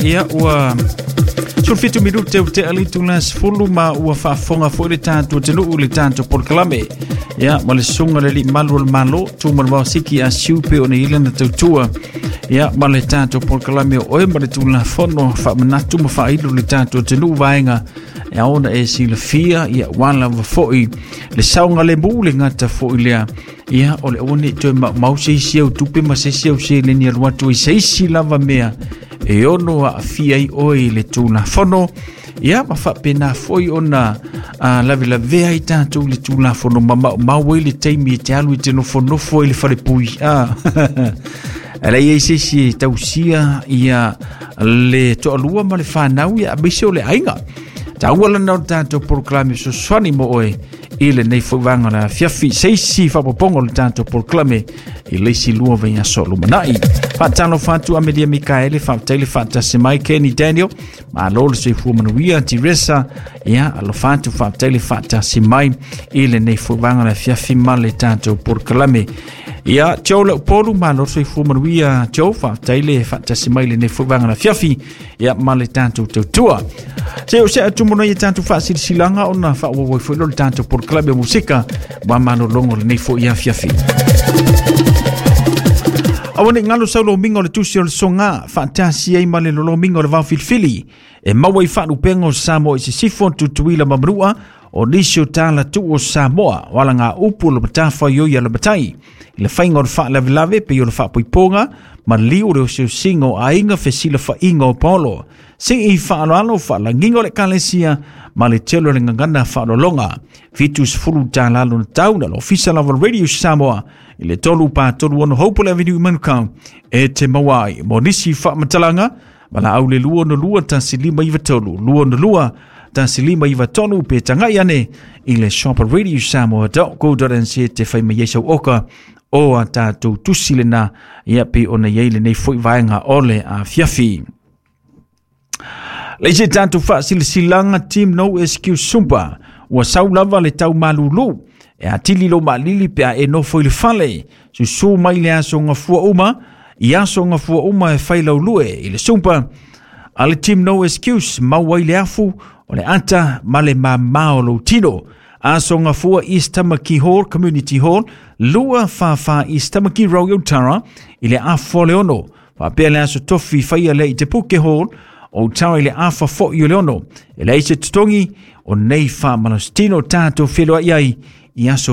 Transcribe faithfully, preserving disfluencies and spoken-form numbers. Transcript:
Ia ua sefulufitu minute ua tea le itula sefulu ma ua faafofoga foi le tatou atunuu le tatou polokalame. Ia ma le susuga le alii malu o le Malo Tumalevao Siki Asiu pe ona i lana tautua. Ia ma le tatou polokalame o oe ma le Tulafono faamanatu ma faailo le tatou atunuu vaega e ao ona e silafia, ia ua lava foi le saogalemu le gata foi lea. Ia o le aua nei toe maumau se isi au tupe ma se isi au seleni alu atu i se isi lava mea e ono aafia ai oe i le Tulafono. Ia ma faapena foi ona lavelavea ai tatou le Tulafono ma maumau ai le taimi e te alu i te nofonofo ai le falepui. E leai ai se isi e tausia ia le toalua ma le fanau, ia aemaise o le aiga. Taua lana o le tatou polokalame fesoasoani mo oe i lenei foi vaega o le afiafi. Se isi faaopoopoga o le tatou polokalame i le isi lua vaiaso o lumanai. Faatalofa atu Amelia Mikaele, faafetai le faatasi mai. Kenny Daniel, malo le soifua manuia. Teresa, ia alofa atu, faafetai le faatasi mai i lenei foi vaega o le afiafi ma le tatou polokalame. Ia Joe Leupolu, malo le soifua manuia Joe, faafetai le faatasi mai i lenei foi vaega o le afiafi ia ma le tatou tautua. Se o se atu mo nei tatou faasilasilaga ona faaauau ai foi lea o le tatou polokalame o musika ma malologo lenei foi afiafi. Aua ne i galo sau lomiga o le tusi o le soga faatasi ai ma le lolomiga o le vaofilifili e maua i faalupega o Samoa i Sisifo, Tutuila ma Manua o nisi o talatuu o Samoa o alaga upu o le matafaioi a le matai i le faiga o le faalavelave pei o le faapoipoga ma liu o le osiosiga o aiga fesilafaiga o paolo sii faaaloalo faalagiga o le ekalesia ma le tele o le gagana faaaloaloga. Fitu sefulu tala lona tau na le ofisa lava o le Radio Samoa i le tolu pa tolu ono Hopewell Avenue i Manukau e te maua ai. Mo nisi faamatalaga ma laau le lua ono lua tasi lima iva tolu, lua ono lua tasi lima iva tolu pe tagai ane i le shop radio samoa dot co dot nz te fai mai ai sau oka o a tatou tusi lena ia pe ona iai lenei foi vaega o le afiafi. Le isi tatou faasilasilaga Team No Excuse Sumba ua sau lava le tau malulu e atili lo maalili pe a e nofo i le fale susu mai le aso gafua uma i aso gafua uma e fai laulue i le Sumba a le Team No Excuse maua ai le afu o le ata ma le mamā o lou tino. Aso gafua East Tamaki Hall Community Hall lua fa fa East Tamaki Road Otara i le afa o le ono. Faapea le aso tofi faia lea i Te Puke Hall o Otara i le afa foi o le ono. E leai se totogi o nei faamalositino tatou feloai ai i aso